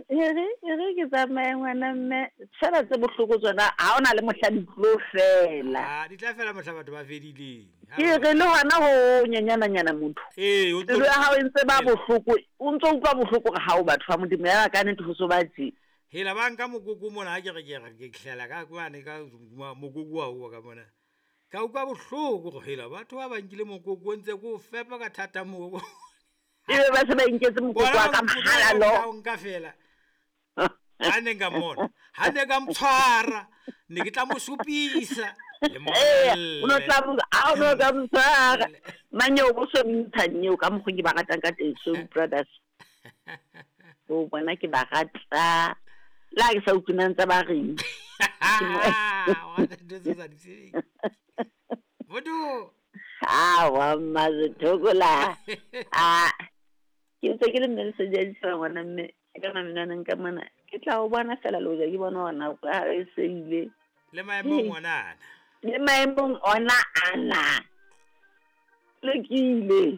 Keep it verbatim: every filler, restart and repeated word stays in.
Ere ere ke tsamaye ngwana mme, fela tse bohloko tsona ha ona le mohla di tlo fela. Ah, di tla fela mohla batho ba fedileng. Ke re le hona ho nyanyananyana motho. Ee, o Pelo ya hao e ntse ba bohloko, o ntso utlwa bohloko hore ha o batho ba Modimo ya ka nnete ho so ba tje. Hela ba nka mokoko mona ha ke re ke re ke hlela ka mane ka mokoko wa uwa ka mona. Ka utlwa bohloko hore hela batho ba ba nkile mokoko o ntse ko o fepa ka thata mokoko. Ebe ba se ba inketse mokoko wa ka mahala lo. Nka fela. Ha ne nka mmona, ha ne ka motshwara, ne ke tla mo supisa. Ee, o no tla mo, ha o no ka motshwara. Manyeo bo so ntsha nyeo ka mokgo ke ba ratang ka teng, Soul Brothers. O bona ke ba rata. Le ha ke sa utlwe na ntse ba reng. Motho. Awa Mmasetokola. Ah, ke ntse ke le mme Lesedi a ditjhaba ngwana mme ka mamenwaneng ka mona. Ke tla o bona fela le hoja ke bona hore nako ya hao e se ile. Le maemong ona ana. Le maemong ona ana. Lokile.